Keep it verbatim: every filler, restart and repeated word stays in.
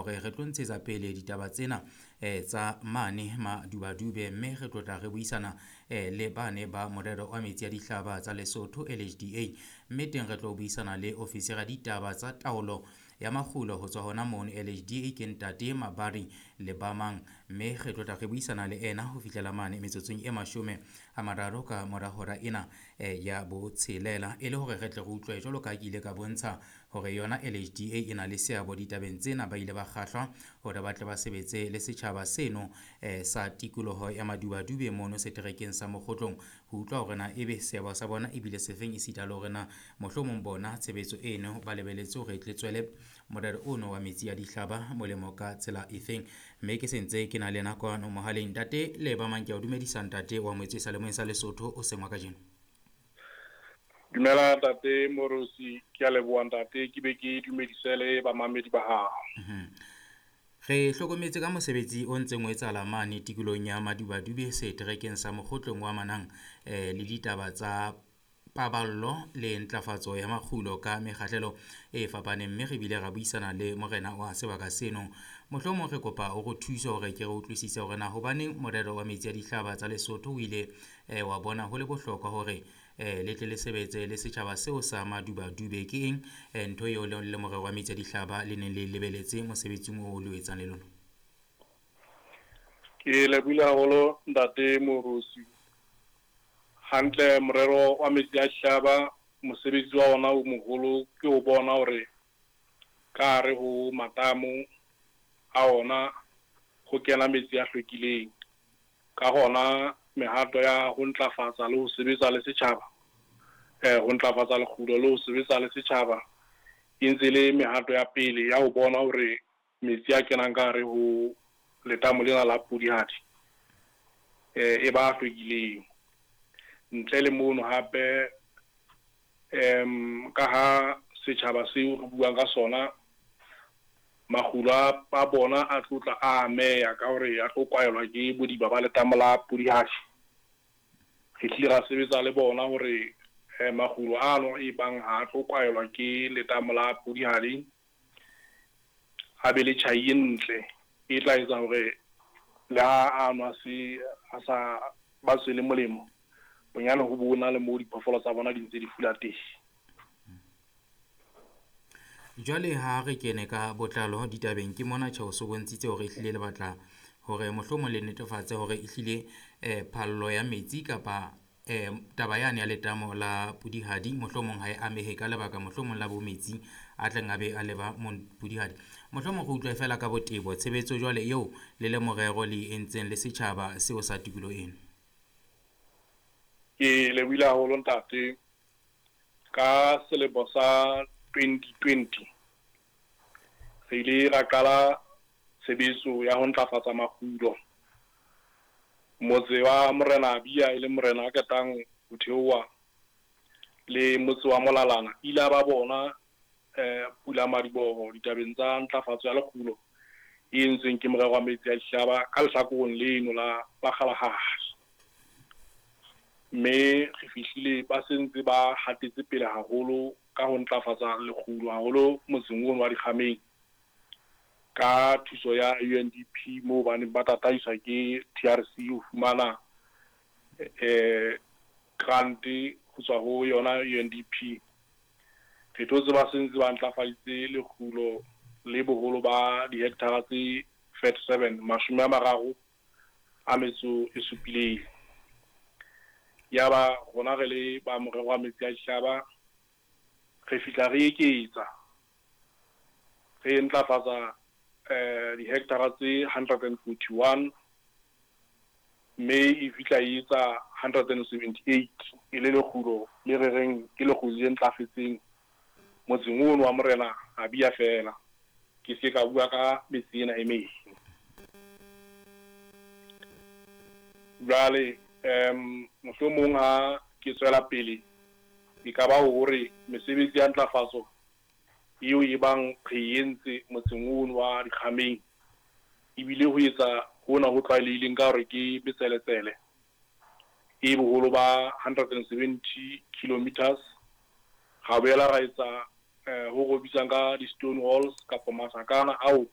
Hore re tlo ntshetsa pele ditaba tsena eh, tsa mane Madubadube, mme re tlo tla re buisana eh, le bane ba morero wa metsi a dihlaba tsa Lesotho L H D A, mme teng re tlo buisana le ofisiri ya ditaba tsa taolo ya makgulo ho tswa hona mono L H D A ke ntate Mabari Lebamang, mme re tlo tla re buisana le ena ho fihlela mane metsotsong e mashome a mararo ka mora hora ena eh, ya botshelela, e le hore re tle re utlwe jwalo ka ha ke ile ka bontsha hore yona L H D A e na le seabo ditabeng tsena. Ba ile ba kgahlwa hore ba tle ba sebetse le setjhaba seno eh, sa tikoloho ya Madubadube mono seterekeng sa Mokgotlong, ho utlwa hore na ebe seabo sa bona ebile sefeng, esita le hore na mohlomong bona tshebetso eno ba lebeletse hore e tle tswele morero ono wa metsi a dihlaba molemo ka tsela efeng. Mme ke sentse ke na le yena kwano mohaleng. Ntate Lebamang, ke a o dumedisa ntate wa Moetswe sa Lemoeng sa Lesotho o seng wa kajeno. Dumela ntate Morosi, ke a leboha ntate, ke be ke dumedise le bamamedi ba hao. Mm-hmm. Re hlokometse ka mosebetsi o ntseng o etsahala mane tikolohong ya Madubadube seterekeng sa Mokgotlong wa manang eh, le ditaba tsa paballo le ntlafatso ya makgulo ka mekgahlelo e fapaneng, mme re bile ra buisana le morena wa sebaka seno. Mohlomong re kopa o re thuse hore ke re utlwisise hore na hobaneng morero wa metsi a dihlaba tsa Lesotho o ile eh, wa bona ho le bohlokwa hore eh, le tle le sebetse le setjhaba seo sa Madubadube. Ke eng eh, ntho eo le le morero wa metsi a dihlaba le neng le lebeletse mosebetsing oo le o etsang le lona? Ke lebohile haholo ntate Morosi. Hantle morero wa metsi a dihlaba mosebetsi wa ona o moholo ke ho bona hore ka hare ho matamo a ona ho kena metsi a hlwekileng. Ka hona mehato ya ho ntlafatsa le ho sebetsa le setjhaba, eh ho ntlafatsa lekgulo le ho sebetsa le setjhaba e ntse le mehato ya pele ya ho bona hore metsi a kenang ka hare ho letamo lena la Pudihadi eh e ba hlwekileng. Ntle le mono hape em ka ha setjhaba seo re buang ka sona makgulo a bona a tlotla a ameha ka hore a tlo kwaelwa ke bodiba ba letamo la Pudihadi. Re hlile ra sebetsa le bona hore eh, makgulo ano e bang ha a tlo kwaelwa ke letamo la Pudihadi a be le tjhai e ntle e tla etsa hore le ha a nwa se a sa ba tswele molemo bonyane ho bona le moo diphoofolo tsa bona di ntse di fula teng. Jwale ha re kene ka botlalo ditabeng, ke mona tjhe o so bontshitse hore ehlile le batla hore mohlomong le netefatse hore ehlile eh, phallo ya metsi kapa eh, taba yane ya letamo la Pudihadi mohlomong ha e amehe ka lebaka mohlomong la bo metsi a tleng a be a leba mo Pudihadi. Mohlomong re utlwe fela ka botebo tshebetso jwale eo le le morero le entseng le setjhaba seo sa tikoloho eno. Ke lebohile haholo ntate. Ka selemo sa twenty twenty re ile ra qala tshebetso ya ho ntlafatsa makgulo. Motse wa Morena Abia e le morena a qetang ho theoha le motse wa Molalana ile ba bona eh pula madiboho ditabeng tsa ntlafatso ya lekgulo e entsweng ke morero wa metsi a dihlaba ka lehlakoreng leno la la Kgalagadi. Mme re fihlile ba sentse ba hatetse pele haholo ka ho ntlafatsa lekgulo haholo motseng ono wa Dikgameng ka thuso ya U N D P moo ba neng ba tataiswa ke T R C ho fumana eh grant ho tswa ho yona U N D P. Re thotse ba sentse ba ntlafaditse lekgulo le boholo ba dihekthara tse thirty-seven, mashome a mararo a metso e supileng. Yaba rona re le ba morero wa metsi a dihlaba re fihla re eketsa re ntlafatsa eh dihekthara tse hundred and forty-one mme e fihla e etsa hundred and seventy-eight e le lekgulo le re reng ke lekgulo le ntlafetseng motseng ono wa Morena Abia fela. Ke se ka bua ka metse ena e meng. Jwale em mohlomong ha ke tswela pele e ka ba hore mesebetsi ya ntlafatso eo e bang re entse motseng ono wa Dikgameng ebile ho etsa hona ho tlwaelehileng ka hore ke betseletsele e boholo ba hundred and seventy kilometers. Ra boela ra etsa eh ho go bitsang ka di-stone walls kapa masakana ao